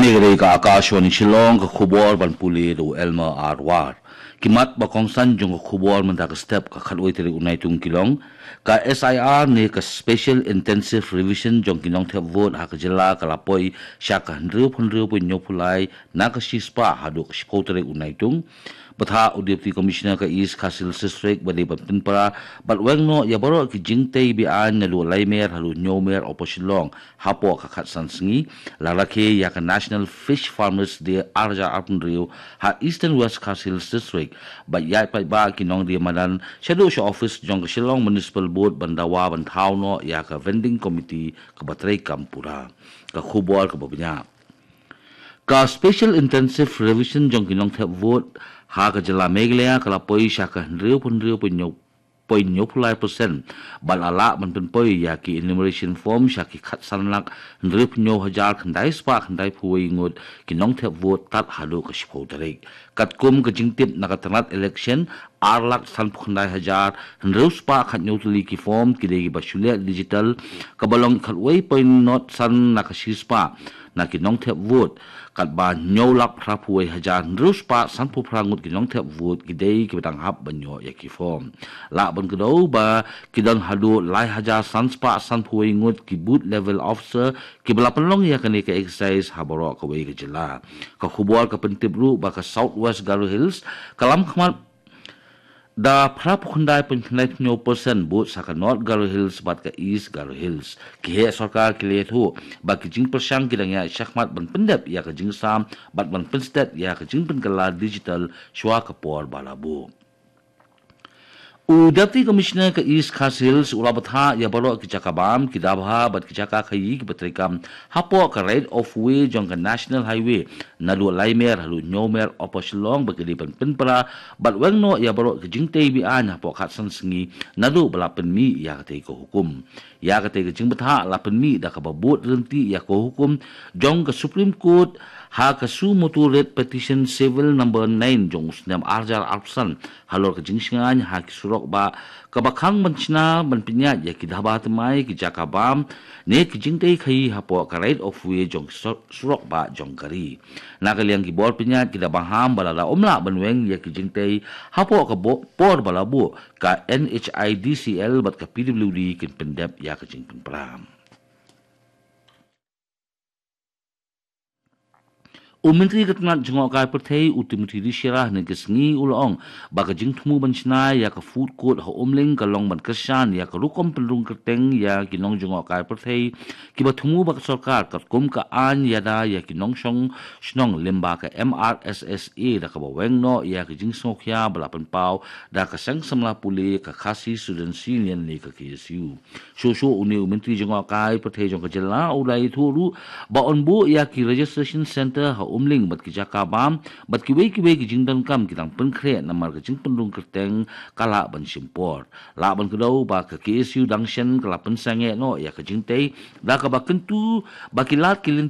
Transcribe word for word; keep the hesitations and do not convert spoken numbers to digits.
Ka dei ka Akashvani Shillong, ka khubor ban pule da u Elmer R War. Ki mat ba kongsan jong ka khubor mynta ka step, ka khatwei tarik u Naitung ki long: ka S I R ne ka Special Intensive Revision jong ki nongthep vote ha ka jylla ka la poi sha ka hynriew phew hynriew point hynñiew phew lai na ka shispah haduh ka shiphew tarik u Naitung. Bthah u Deputy Commissioner ka East Khasi Hills District ba dei ban pynpra bad weng noh ïa baroh ki jingtei be-aiñ naduh lai mer haduh hynñiew mer Upper Shillong hapoh ka khatsan sngi, la rakhe ïa ka National Fish Farmers Day ar hajar arphew hynriew ha Eastern West Khasi Hills District, bad ïaid paidbah ki nongdie madan shaduh sha office jong ka Shillong Municipal Board ban dawa ban thaw noh ïa ka vending committee kaba treikam pura. Ka khubor kaba bniah. Ka Special Intensive Revision jong ki nongthep vote ha ka jylla Meghalaya ka la poi sha ka hynriew phew hynriew point hynñiew phew lai percent, bad la lah ban pynpoi ïa ki enumeration form sha ki khatsan lak hynriew phew hynñiew hajar khyndai spah khyndai phew wei ngut ki nongthep vote tad haduh ka shiphew tarik. Katkum ka jingtip na ka tnat election, ar lak sanphew khyndai hajar hynriew spah khathynñiew tylli ki form ki dei kiba shu leh digital, kaba long khatwei point nod san na ka shispah na ki nongthep vote, katba hynñiew lak phraphew wei hajar hynriew spah sanphew phra ngut ki nongthep vote ki dei kiba dang hap ban ïoh ïa ki form. Lah ban kdew ba ki don haduh lai hajar san spah sanphew wei ngut ki booth level officer kiba la pynlong ïa kane ka exercise ha baroh kawei ka jylla. Ka khubor ka pyntip ruh ba ka South West Garo Hills ka lam khmat da phraphew khyndai point khyndai hynñiew percent bud sa ka North Garo Hills bad ka East Garo Hills. Ki heh sorkar ki la ïathuh ba ki jingpyrshang ki dang ïaid shakhmat ban pyndep ïa ka jingsam bad ban pynstet ïa ka jingpynkylla digital shuwa ka por ba la buh. U Deputy Commissioner ka East Khasi Hills u la bthah ïa baroh ki jaka bam, ki dabha bad ki jaka khaïi kiba treikam hapoh ka right of way jong ka National Highway naduh lai mer haduh hynñiew mer Upper Shillong ba ki dei ban pynpra bad weng noh ïa baroh ki jingtei be-aiñ hapoh khatsan sngi naduh ba la pynmih ïa katei ka hukum. Ïa katei ka jingbthah la pynmih da kaba bud ryntih ïa ka hukum jong ka Supreme Court ha ka suo motu writ petition civil number nine jong u snem ar hajar arphew san halor ka jingshngaiñ ha ki surok bah kaba khang ban shna ban pynïaid ïa ki dabha thymmai, ki jaka bam ne ki jingtei khaïi hapoh ka right of way jong ki sur-, surok bah jong ka ri. Na ka liang ki bor pynïaid ki da maham ba lada ym lah ban weng ïa ki jingtei hapoh ka bo-, por ba la buh, ka N H I D C L bad ka P W D kin pyndep ïa ka jingpynpra. U Myntri ka tnat jngohkai pyrthei u Timothy D Shira hynne ka sngi u la ong ba ka jingthmu ban shna ïa ka food court ha Umling ka long ban kyrshan ïa ka rukom pynrung kyrteng ïa ki nongjngohkai pyrthei kiba thmu bad ka sorkar katkum ka aiñ ïada ïa ki nongshong shnong lyngba ka M R S S A da kaba weng noh ïa ka jingsngewkhia ba la pynpaw da ka seng samla pule ka Khasi Students Union ne ka K S U. Shuh shuh une u Myntri jngohkai pyrthei jong ka jylla u la ïathuh ruh ba yn buh ïa ki registration centre ha Umling bad ki jaka bam bad kiwei kiwei ki jingdonkam ki dang pynkhreh namar ka jingpynrung kyrteng ka lah ban shim por. Lah ban kdew ba ka K S U dang shen ka la pynsangeh noh ïa ka jingtei da kaba kyntu ba ki lad ki lynti